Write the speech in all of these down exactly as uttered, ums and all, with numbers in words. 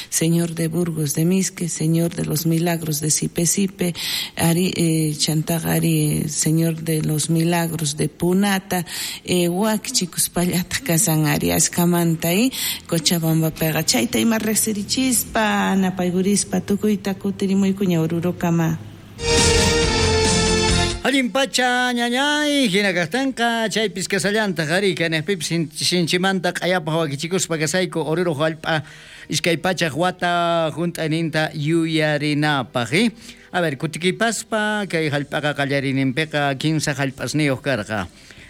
Señor de Burgos de Misque, Señor de los Milagros de Sipe Sipe, ari eh, chantaqa ari Señor de los Milagros de Punata, eh, wakichikuspallataq kasan ari ashkamanta y Cochabambapiqa chayta ima riqsirichispa napaykurispa tukuyta kutirimuykuña Orurokama. Allin pacha ñañay, hina kaqtinqa chaypis kasallantaq ari kanaqpipis sinchimanta q'ayapaq wakichikuspa kasayku Oruro hallp'a iskay pachaq wata hunt'ayninta yuyarinapaq. Eh? A ver, kutikipaspa kay hallp'aqa qallariyninpiqa kinsa hallp'asniyuq karqa.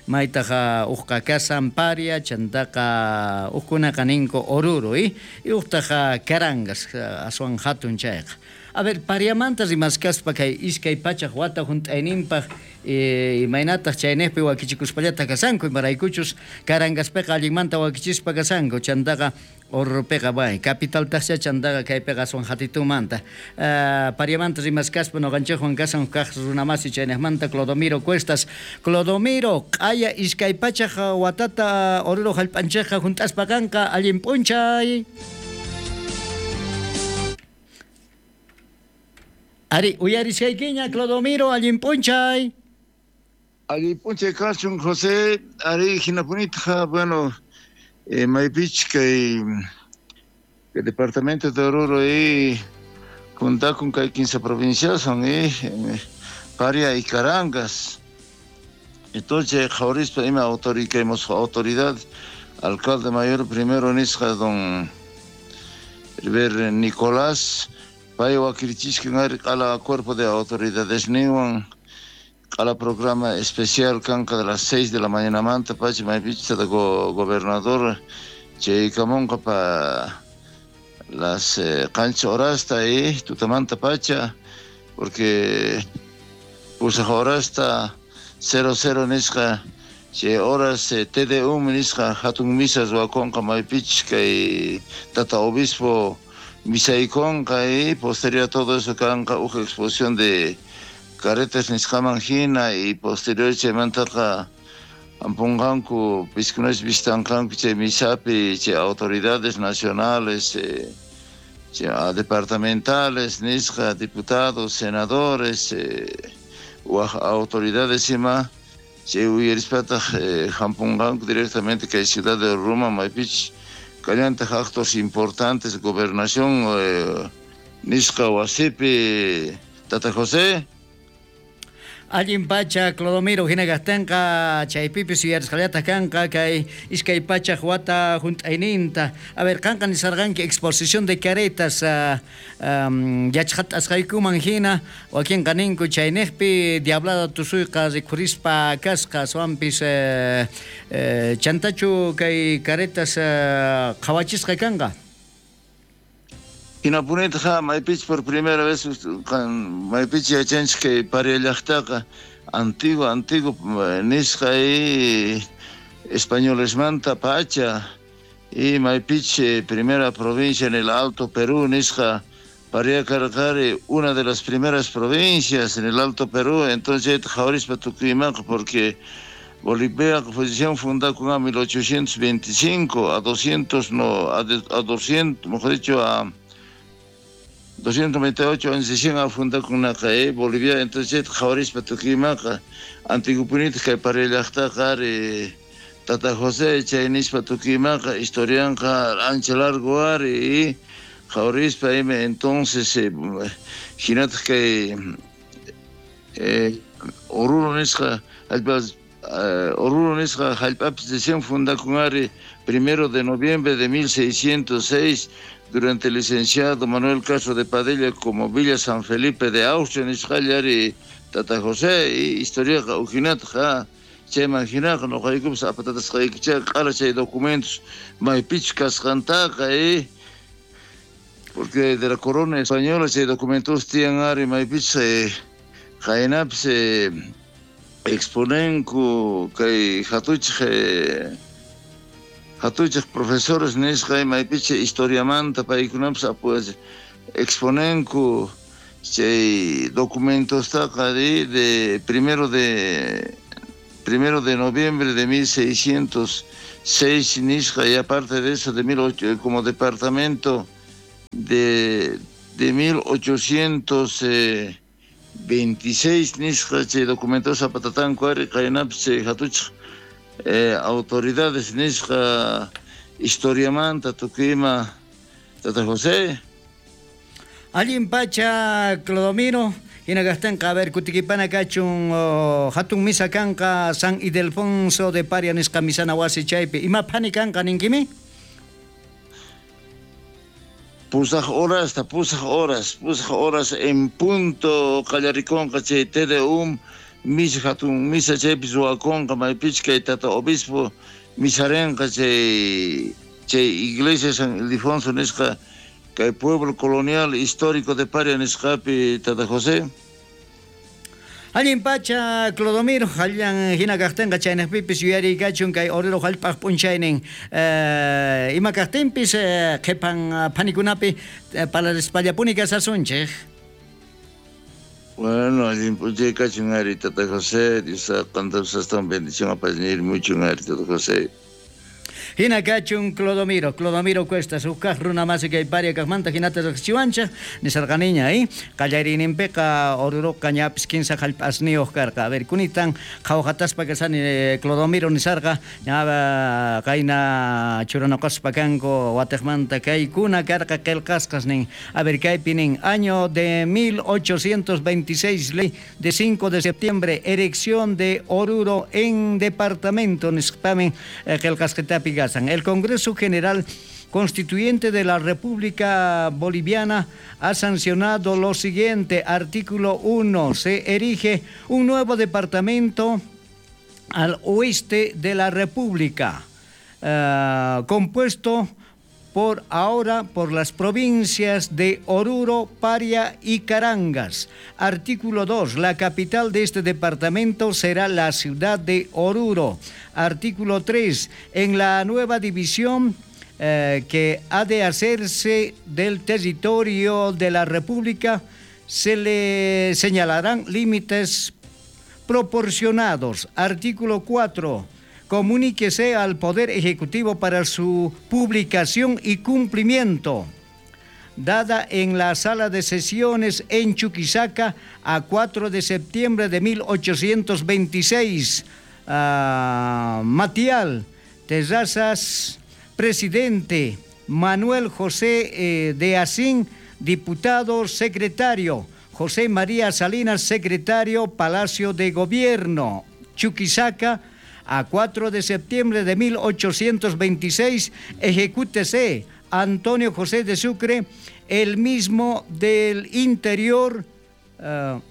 Maytaqa uqqa kasan Paria, chantaqa uqkunaqa ninku Oruro, eh? Y uqtaqa Carangas, aswan hatun chayqa. A ver, Pariamanta rimaskaspa kay iskay pachaq wata hunt'ayninpaq eh, imaynataq chaynejpi wakichikuspallata kasanku, imaraykuchus Carangaspiqa allinmanta wakichispa kasanku, chantaqa Oruropiqa bay, capitaltaqcha chantaqa kaypiqa aswan hatitumanta. Uh, Pariamanta rimaskaspa noqanchikwan kasan kaq runamasi chaynejmanta Clodomiro Cuestas. Clodomiro, q'aya iskay pachaq watata Oruro hallp'anchikqa hunt'aspa kanqa, allin p'unchay. Ari, uyarishaykiña, Clodomiro, allin p'unchay. Allin p'unchay kachun, José. Ari, hinapunitqa, bueno, eh, maypich kay el departamento de Oruro y junta con kay quince provincias son eh, Paria y Carangas. Entonces, qhawarispa ima autoridad, alcalde mayor primero nisqa don Heber Nicolás, pay wakirichiskan ari q'ala cuerpo de autoridades niwan q'ala programa especial kanqa de las seis de la mañana manta pacha maypicha go gobernador chaykamunqa pa las eh, qancha horasta y tutamanta pacha porque pusaq horasta cero cero nisqa chay horas eh, T D U nisqa hatun misas wakunqa maypich kay tata obispo misaykonqa y posterior a todo eso kanqa uj exposición de carretas nisqaman hina y posterior chaymantaqa ampunqanku piskunas vistanqanku chay misapi chay autoridades nacionales eh, chay departamentales nisqa diputados senadores eh, waj autoridades ima chay uyarispataq eh, hampunqanku directamente kay ciudad de Roma maypich kallantaq actos importantes gobernación eh, nisqa wasipi Tata José. Allin pacha, Clodomiro, hina kastanqa chaypipis yuyarisqallataq kanqa kay iskay pachaq wata hunt'ayninta. A ver, qanqa nisarqanki exposición de caretas uh, um, yachqatasqaykuman hina wakinqa ninku chaynejpi diablada tusuyqa rikhurispa kasqa aswanpis eh, eh, chantachu kay caretas uh, qhawachisqa kanqa. Hinapunitqa maypich por primera vez maypich yachanchik kay Paria llaqtaqa antiguo antiguo nisqa y españolesmanta pacha y maypich primera provincia en el Alto Perú nisqa Paria karqari una de las primeras provincias en el Alto Perú, entonces qhawarispa tukuymanqa porque Bolivia posición fundada en mil ochocientos veinticinco a doscientos no a, a doscientos, mejor dicho a doscientos noventa y ocho años a fundar con una calle Bolivia, entonces qhawarispa tukuymanqa antigupunitaq kay Paria llaqtaqa ari Tata José chay nispa tukuymanqa historianqa ancha largo ari y qhawarispa ima entonces eh, hinataq kay eh, Oruro nisqa hallp'as eh, Oruro nisqa hallp'apis recién fundakun ari primero de noviembre de mil seiscientos seis durante el licenciado Manuel Castro de Padilla como Villa San Felipe de Austria nisqallari Tata José y historiaqa ujinatqa chayman hinaqa noqaykupas apatatasqaykichayqa q'ala chay documentos maypichus kasqantaqa eh, porque de la corona española chay documentos tiyan ari maypichus eh, qaynapis eh, exponenku kay hatuchij eh, hatuchij profesores nisqa maypicha historiamanta paykunapas apu exponenku chay documentostaqa de, de primero de primero de noviembre de mil seiscientos seis nisqa y aparte de eso de mil ocho como departamento de de mil ochocientos veintiséis nisqa chay documentos apatatanku ari qaynapis chay hatuchaq eh, autoridades nisqa historiamanta tukuyma Tata José. Allin pacha Clodomiro, hinagastanqa a ver kutikipana kachun oh, hatun misa kanqa San Ildefonso de Paria nisqa misana wasi chaypi ima phani kanqa ninkimi? Pusaj horas, ta pusaj horas, pusaj horas en punto qallarikonqa chay T D U misa hatun misa chaypi ruwakonqa maypichka kay tata obispo misarenqa chay chay iglesia San Ildefonso nisqa kay pueblo colonial histórico de Paria nisqapi tata José. Allin pacha Clodomiro, allan hina kaqtinqa chaynaqpipis yuyariykachun kay Oruro hallp'aq p'unchaynin eh, ima kaqtinpis eh, qhipan phanikunapi eh, parlarispallapuni kasasunchik. Bueno, allin p'unchay kachun ari tata José, Dios qantapas astawan bendición apañir mucho ari tata José. Hina kachun Clodomiro, Clodomiro Cuesta, huk runa masi kay Paria kaqmanta hinata riqsichiwanchik nisarqaniña, eh? Qallariyninpiqa Oruroqa ñapis kinsa hallp'asniyuq karqa. A ver, kunitan qhawqataspa kasani eh, Clodomiro nisarqa, ña qayna churanoqaspa kanku watiqmanta kaykuna karqa qillqasqas nin. A ver, kaypi nin, año de mil ochocientos veintiséis, ley de cinco de septiembre, erección de Oruro en departamento nisqamin eh, qillqasqitapi kasqa. El Congreso General Constituyente de la República Boliviana ha sancionado lo siguiente. Artículo uno. Se erige un nuevo departamento al oeste de la República, eh, compuesto por ahora por las provincias de Oruro, Paria y Carangas. Artículo dos. La capital de este departamento será la ciudad de Oruro. Artículo tres. En la nueva división eh, que ha de hacerse del territorio de la República se le señalarán límites proporcionados. Artículo cuatro. Comuníquese al Poder Ejecutivo para su publicación y cumplimiento. Dada en la sala de sesiones en Chuquisaca a cuatro de septiembre de mil ochocientos veintiséis. Uh, Matial Terrazas, presidente. Manuel José eh, de Asín, diputado secretario. José María Salinas, secretario, Palacio de Gobierno. Chuquisaca, a cuatro de septiembre de mil ochocientos veintiséis, ejecútese Antonio José de Sucre, el mismo del interior, uh,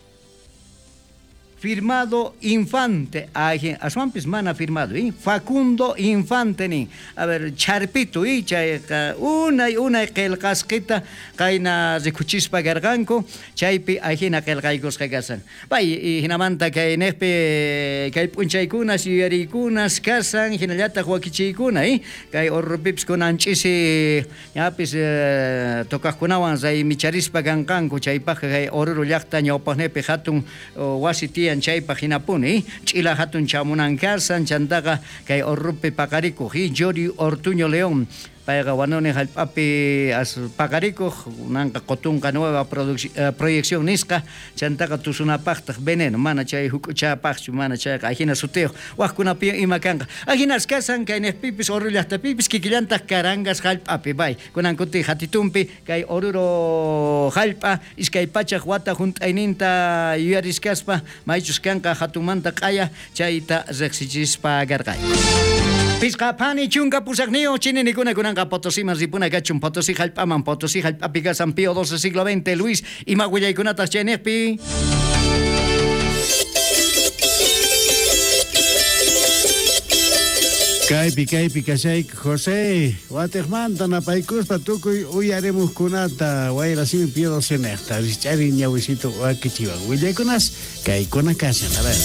firmado Infante, aswanpis mana firmado, ¿eh? Facundo Infante ni. A ver, charpito, ¿eh? Chayqa unay unay qillqasqita qayna rikuchispa karqanku, chaypi ajina qillqaykusqa kasan. Pay hinamanta kay niqpi kay p'unchaykunas yuyariykunas kasan, hinallataq wakichiykuna, ¿eh? Kay Orurupipis kunan ch'isi ñapis eh, tocaqkunawan raymicharispa kanqanku, chaypaqqa kay Oruro llaqta ñawpaqnipi hatun wasi tiyan chaypaq hinapuni, ch'ila hatun chamunan kasan, chantaqa kay Orurupi paqarikuq, Yori Ortuño León, payqa wanuni hallp'api as paqarikuq, unanqa qutunqa nueva eh, proyección nisqa, chantaqa tusunapaqtaq veneno, mana chay huk'uchapaqchu, mana chayqa ajina sutiyuq, waqkunapi ima kanqa. Ajinas kasan kay niqpipis Oruro llaqtapipis kikillantaq Carangas hallp'api, bay, kunan kuti hatitumpi kay Oruro hallp'a iskay pachaq wata hunt'ayninta yuyariskaspa maychus kanqa hatunmanta q'aya chayta riqsichispa karqay. Pisqa phani chunka pusaqniyuq chininikuna kunanqa Potosiman ripuna kachun, Potosí hallp'aman, Potosí hallp'api kasan Pío doce siglo veinte, Luis, ima willaykunataq chayniqpi. Kaypi kaypi kashayku José, watiqmanta napaykuspa tukuy uyarimuqkunata wayrasimi Pío doce niqta, rich'ari ñawisito wakichiwan willaykunas kaykuna kashan, a ver.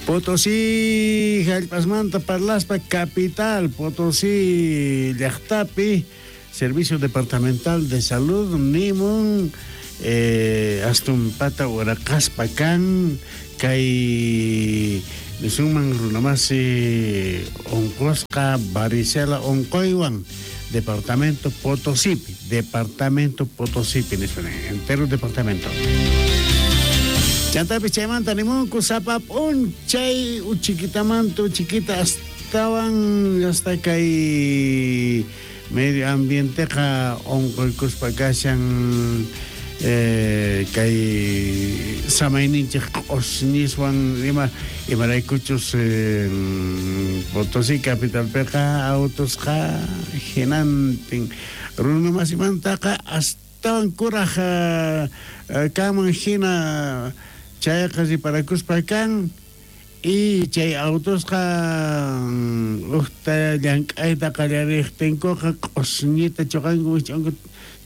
Potosí hallp'asmanta parlaspa capital Potosí llaqtapi Servicio Departamental de Salud nimun eh, astumpata uraqaspa kan kay Nisunman runamasi onqosqa varicela onqoywan departamento Potosípi, departamento Potosípi, entero departamento. Chantapis chaymanta nimunku sapa p'unchay uchikitamanta uchiquita astawan hasta kay medio ambienteqa onqoykuspa kashan eh, kay samayninchik q'osñiswan ima imaraykuchus eh, Potosí capitalpiqa autosqa hinantin runamasimantaqa astawan kuraj kanman hina chayqa riparakuspa kan y chay autosqa uqta llank'ayta qallariqtinkuqa q'osñita chuqanku wich'anku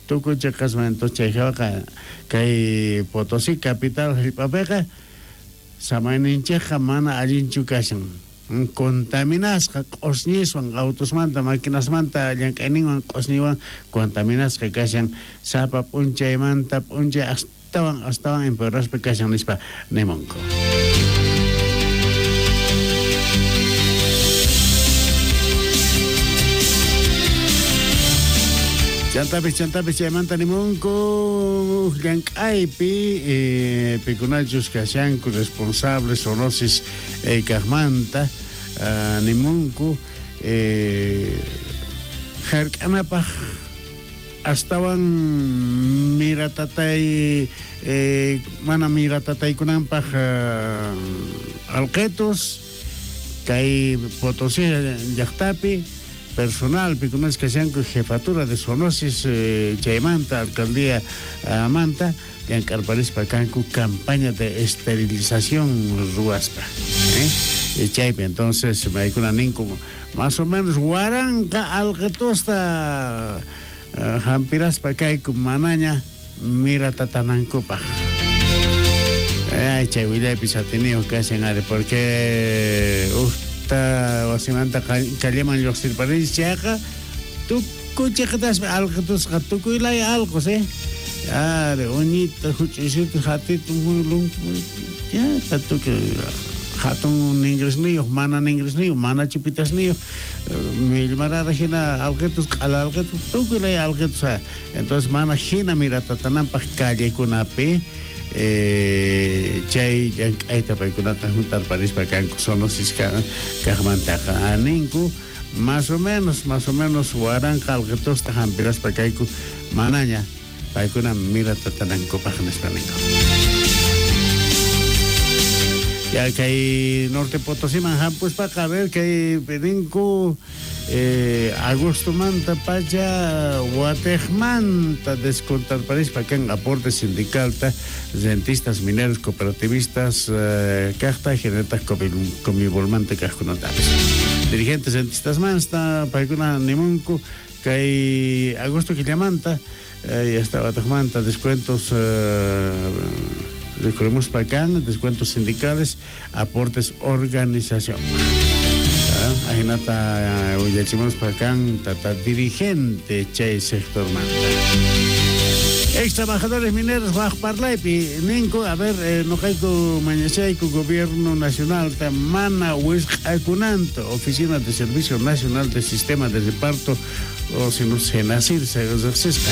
tukuy chaqasman. Entonces chay hawaqa kay Potosí capital hallp'apiqa samayninchikqa mana allinchu kashan contaminasqa q'osñiswan autosmanta maquinasmanta llank'ayninwan q'osñiwan contaminasqa kashan sapa p'unchaymanta p'unchay astawan astawan empeoraspa kashan nispa nimunku. Chantapis chantapis chaymanta nimunku llank'aypi eh, pikunachus kashanku responsables zoonosis eh, kaqmanta uh, nimunku eh, hark'anapaq astawan miratatay eh, mana miratataykunanpaq uh, alqetos kay Potosí llaqtapi personal pikunas kashanku jefatura de zoonosis eh, chaymanta alcaldía uh, manta llank'arparispa kanku campaña de esterilización ruwaspa eh? Chaypi entonces maykuna ninku más o menos waranqa alqetosta uh, hampiraspa kayku manaña miratatanankupaq. Ay, chay willaypis atiniyuq kashan ari porque uj wasimanta calleman lluqsirparinchis chayqa tukuy chiqitaspi alqitusqa tukuy laya alqos eh ari uñita huch'uysito hatito ya tukuy hatun ningrisniyuq mana ningrisniyuq mana chupitasniyuq millmarara hina alqitus q'ala alqitus tukuy laya alqitus. Entonces mana hina miratatananpaq callekunapi Eh, chay llank'ayta paykunata juntarparispa kanku zoonosis kaqmantaqa ninku más o menos más o menos waranqa alqitusta hampiraspa kayku manaña paykuna miratatanankupaq nispa ninku. Ya kay Norte Potosíman hampuspaqa a ver kay ninku eh, agostomanta pacha watejmanta descontarparispa kan aporte sindicalta rentistas mineros cooperativistas eh, kaqta genertas comibolmanta kaqkunatapis dirigentes rentistas manta paykuna nimunku kay agosto killamanta eh, hasta watejmanta descuentos eh, recorremos para acá, descuentos sindicales, aportes organización. Ajinata willachimos para acá, tata dirigente chay sector manta. Ex trabajadores mineros waj parlaypi ninku, a ver, eh, noqayku mañachayku gobierno nacional ta mana wisq'akunanta oficina de servicio nacional de sistema de reparto o si no SENASIR se riqsisqa.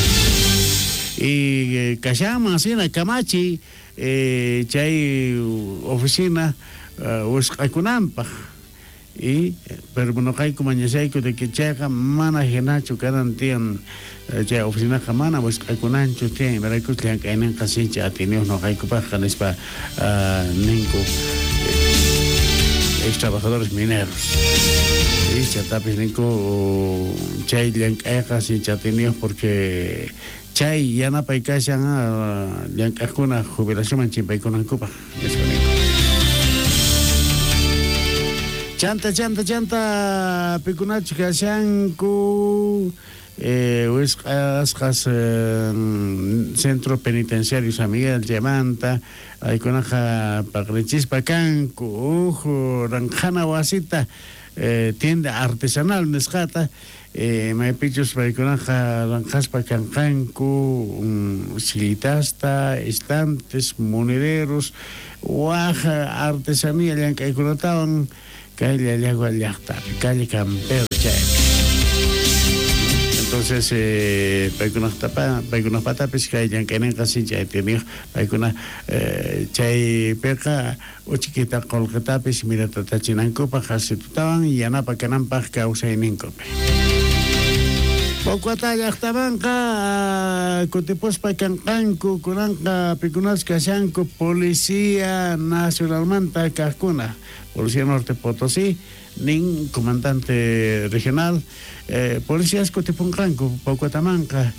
Y eh, kashaman sina kamachi eh, chay oficina uh, wisq'akunanpaq y pero noqayku mañachayku de que chayqa mana hinachu kanan tiyan chay oficinaqa mana wisq'akunanchu tiyan imaraykus llank'ayninqa sinchi atiniyuq noqaykupaqqa nispa uh, ninku ex trabajadores mineros y chatapis ninku chay llank'ayqa sinchi atiniyuq porque chay yanapay kashan llank'aqkuna jubilacionman chimpaykunankupaq nispa ninku. Chanta, chanta, chanta, pikunachu kashanku eh, wisq'asqas eh, Centro Penitenciario San Miguel chaymanta aykunaqa paqrichispa kanku uj ranqhana wasita eh, tienda artesanal nisqata eh, maypichus paykunaqa ranqaspa kanqanku um, sillitasta, estantes, monederos, waj artesanía llank'aykunatawan kay Llallagua llaqtapi, calle Campero chaypi. Entonces, eh, paykunaqtapa, paykunaqpatapis kay llank'ayninqa sinchi atiyniyuq, paykuna eh, chaypiqa uchikita qullqitapis miratachinankupaq asitutawan yanapa kananpaq kawsayninkupi. Pocuata llaqtamanqa kutipuspa kanqanku kunanqa pikunas kashanku Policía Nacionalmanta kaqkuna, Policía Norte Potosí, nin comandante regional, eh, policías kutipunqanku Pocuatamanqa,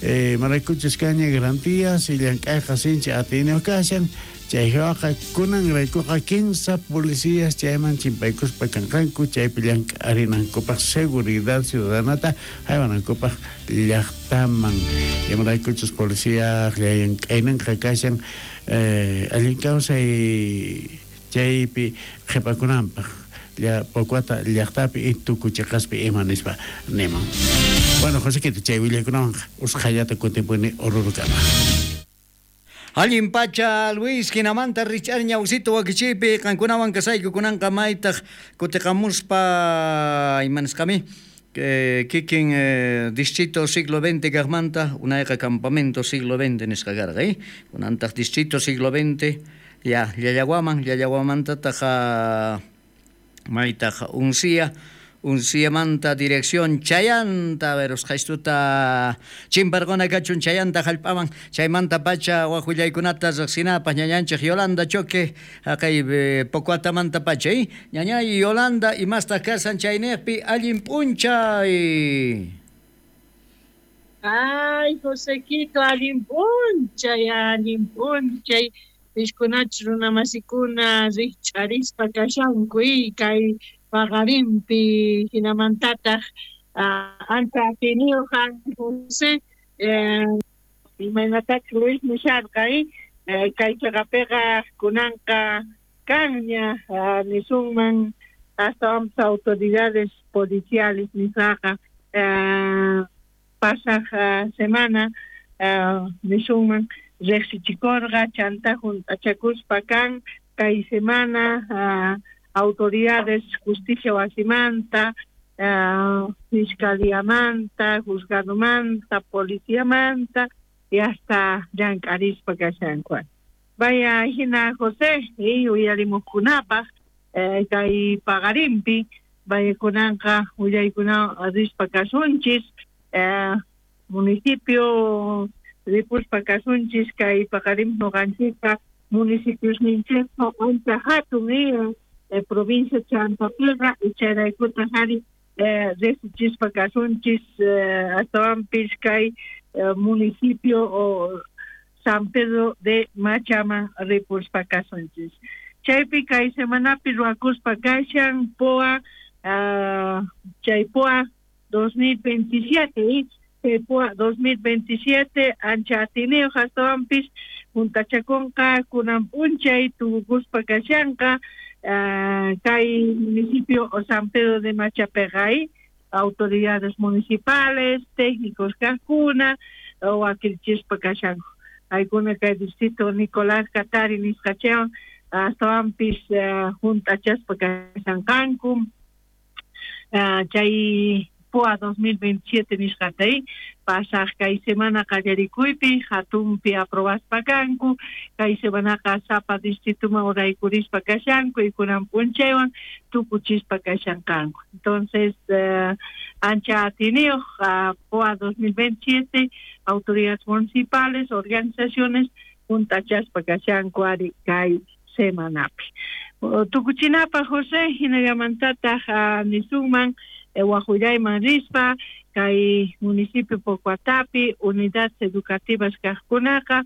eh, maraykuchus kaña garantías y llank'ayqa sinchi atiyniyuq kashan, chayqa kunan raykuqa quince policías chayman chimpaykuspa kanqanku chaypi llank'arinankupaq seguridad ciudadanata haywanankupaq llaqtaman. Imaraykuchus policía llank'ayninqa kashan eh, allin kawsay chaypi qhipakunanpaq ya Pocuata llaqtapi y tukuchiqaspi ima nispa niman. Bueno, Josequito, chay willaykunawanqa usqhayllata kutipuni Orurukama. Allin pacha Luis, hinamanta rich'ar ñawsito wakichiypi qankunawan kasayku kunanqa maytaq kutiqamuspa imanisqami eh, kikin eh, distrito siglo veinte kaqmanta unayqa campamento siglo veinte nisqa karqa, eh? Kunantaq distrito siglo veinte ya Llallaguaman, Llallaguamantataq maytaq Uncía, Unciamanta dirección Chayanta, verusqaystuta chimparquna kachun Chayanta hallp'aman, chaymanta pacha waqwillaykunata riqsinapaq ñañanchik Yolanda Choque, haqay Pocuatamanta pacha, eh? Ñañay Yolanda, imastaq kasan chayniqpi allin p'unchay. Ay, Josequito, allin p'unchay, allin p'unchay. Pishkunach runamasikuna rikch'arispa kashanku kay paqarinpi hinamantataq ancha atiniyuq José imaynatachus Luis nisharqa kay chaqapiqa kunanqa kanña nisunman astawanpas autoridades policiales nisqaqa pasaq semana nisunman riqsichikurqa chanta juntachakuspa kan kay semana autoridades justicia wasimanta, uh, fiscaliamanta, juzgadomanta, policiamanta y hasta llank'arispa kashanku. Vaya hina José, y uyarimuqkunapaq eh, kay paqarinpi vaya kunanqa willaykuna rispa kasunchis eh, municipio ripuspa kasunchis kay paqarinpi nuqanchikqa municipiosninchikqa ancha hatun eh, Eh, provincia Chantapiqa ichayraykuta hari eh, riqsichispa kasunchis eh, astawanpis kay eh, municipio o San Pedro de Machaman ripuspa kasunchis. Chaypi kay semanapi ruwakuspa kashan P O A uh, chay P O A dos mil veintisiete, chay P O A dos mil veintisiete ancha atiniyuq astawanpis juntachakunqa kunan p'unchay tukukuspa kashanqa Uh, kay municipio o San Pedro de Machapeqa, autoridades municipales, técnicos kaqkuna, wakilchispa kashanku. Aykuna kay distrito Nicolás Katari nisqachawan astawanpis uh, juntachaspa kashanqanku. Uh, chay P O A dos mil veintisiete nisqata pasaq kay semana qallarikuypi hatunpi aprobaspa kanku, kay semanaqa sapa distrituman uraykurispa kashanku y kunan p'unchaywan tukuchispa kashanqanku. Entonces, uh, ancha atiniyuq uh, P O A dos mil veintisiete, autoridades municipales, organizaciones juntachaspa kashanku ari kay semanapi. Tukuchinapaq José, hinallamantataq uh, nisunman waqwillayman rispa kay municipio Pocuatapi unidades educativas kaqkunaqa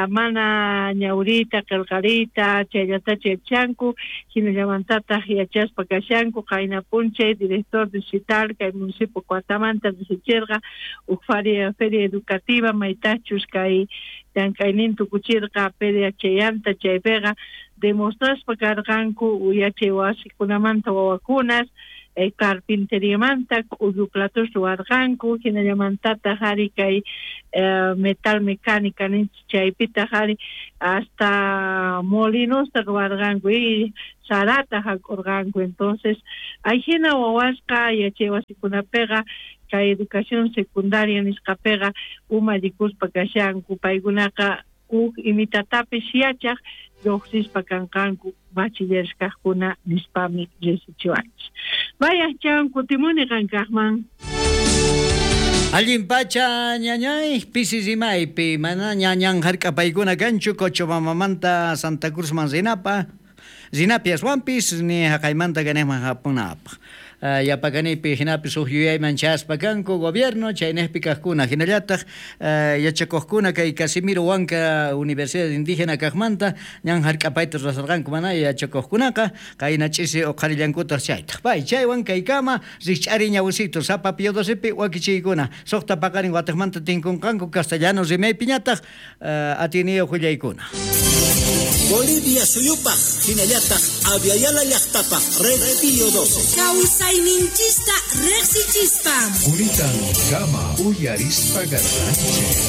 mana ñawriyta qillqariyta chayllatacha yachanku hinallamantataq yachaspa kashanku qayna p'unchay director distrital kay municipio Pocuatamanta riqsichirqa huk feria, feria educativa maytachus kay llank'aynin tukuchirqa feria chayanta chaypiqa demostraspa karqanku yachay wasikunamanta wawakunas eh, carpinteriamanta k'ullu platos ruwarqanku, hinallamantataq ari kay eh, metal mecánica ninchik chaypitaq ari hasta molinosta ruwarqanku y sarata hak'urqanku. Entonces ayhina wawasqa yachay wasikunapiqa kay educación secundaria nisqapiqa umallikuspa kashanku, paykunaqa huk imitatapis yachaq lluqsispa kanqanku bachilleres kaqkuna nispami riqsichiwanchik. Vaya chan kutimuni qankaqman. Allin pacha ñañay pisi rimaypi mana ñañan hark'apaykuna kanchu Cochabambamanta Santa Cruzman rinapa rinapi aswanpis ni haqaymanta kanejman hapunapaq. Uh, yapakanipi hinapis huk yuyayman chaspa kanku gobierno chaynejpi kaqkuna hinallataq uh, yachakuqkuna kay Casimiro Huanca Universidad Indígena kaqmanta ñan hark'apayta rurasarqanku mana yachakuqkunaqa qayna ch'isi uqharillankutaq chaytaq. Pay chaywan kaykama rikch'ari ñawisitu sapa Pío docepi wakichiykuna suqta paqarin wataqmanta tinkunqanku castellano rimaypiñataq uh, atiniyuq willaykuna. Bolivia suyupaq hinallataq Aviala llaqtapaq Red Pío doce. Kawsayninchista riqsichispa. Quritan kama uyarispa garranchik.